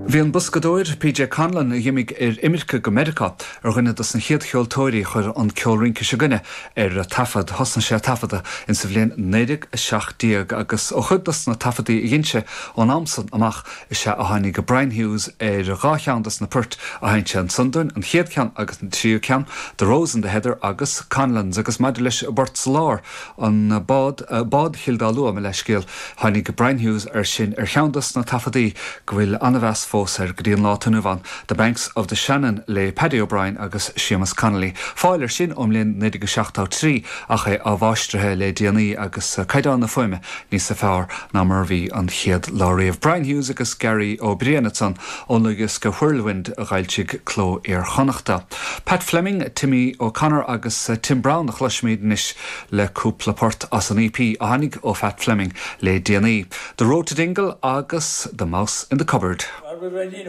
Bhí an boscadóir PJ Conlon, a dh'imigh ar imirce go Meiriceá, ar dhuine dos na chéad cheoltóirí a chuir an ceol rince s'againne ar taifead. Thosnaigh sé ag taifeadadh insa bhliain 1917 agus ó chuid dos na taifeadaí a dhein sé ón am san amach is ea a tháinig Brian Hughes ar dhá cheann dos na poirt a sheinn sé ansan dúinn, an chéad cheann agus an tríú ceann, The Rose in the Heather agus Conlon's. Agus maidir leis an bport sa lár, An Bád, Bád Chill Dá Lua, mo leithscéal, tháinig Brian Hughes air sin ar cheann dos na taifeadaí go bhfuil an-mheas fós air go dtí an lá atá inniu ann, The Banks of the Shannon le Paddy O'Brien agus Séamus Connolly. Fáil air sin ón mbliain 1973 ach é athmháistrithe le déanaí agus caighdeán na fuaime níosa fearr ná mar a bhí an chéad lá riamh. Brian Hughes agus Gary Ó Briain ansan ón dlúthdhiosca Whirlwind a d'fhoilsigh Cló Iar-Chonnachta. Pat Fleming, Timmy O'Connor agus Tim Browne a chloisfimid anois le cúpla port as an EP a tháinig ó Phat Fleming le déanaí, The Road to Dingle agus The Mouse in the Cupboard.